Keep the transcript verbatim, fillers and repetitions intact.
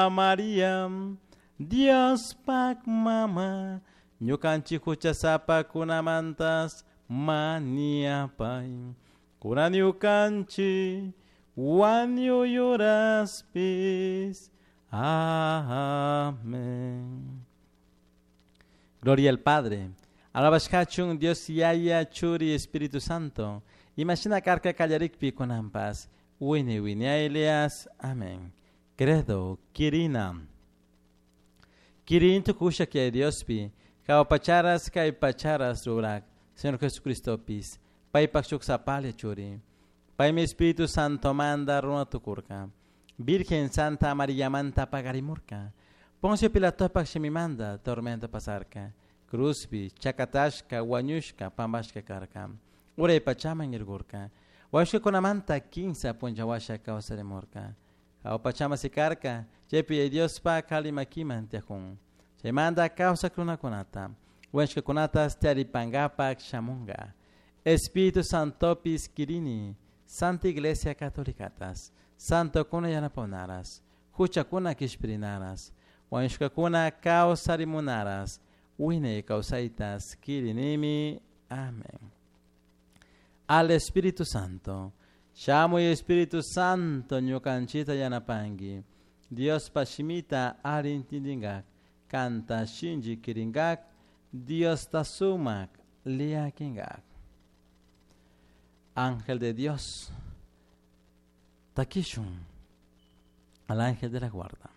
Maria, Diospak mama, ñukanchik huchasapakunamantas mañapay. Kunan ñukanchik wañuy uraspis. Amén. Gloria al Padre. Alabashkachun Dios Yaya Churi Espíritu Santo. Imashina karka kallarikpi kunanpas. Wiñay wiñaylias. Amén. Credo, Kirina. Kirin tukusha que Diospi. Jahua pacharas kay pacharas rurak. Señor Jesucristopis. Paypak shuk sapalla churi. Paymi Espíritu Santo manda runa tukurka. Virgen Santa Maria manta paqarimurka. Poncio Pilatopak shimimanda tormento pasarka. Cruzpi, chakatashka, wañushka, pambashka karka. Uray pachaman urkurka. Wañushkakunamanta kimsa punlla washa kawsarimurka. Jahua pachaman sikarka, chaypi Diospak alli makiman tiyakun. Chaymanta kawsak runakunata. Wañushkakunatas taripangapak shamunga. Espíritu Santopis kirini, Santa Iglesia Catolicatas, Santokuna yanapanaras, huchakuna kishpirinaras, wañushkakuna kawsarimunaras, wiñay kawsaytas kirinimi. Amén. Al Espíritu Santo. Shamuy Espíritu Santo ñukanchita yanapangi. Diospa shimita alli intindingak, kanta shinchi kiringak, Diosta sumak llakingak. Ángel de Dios, takishun al ángel de la guarda.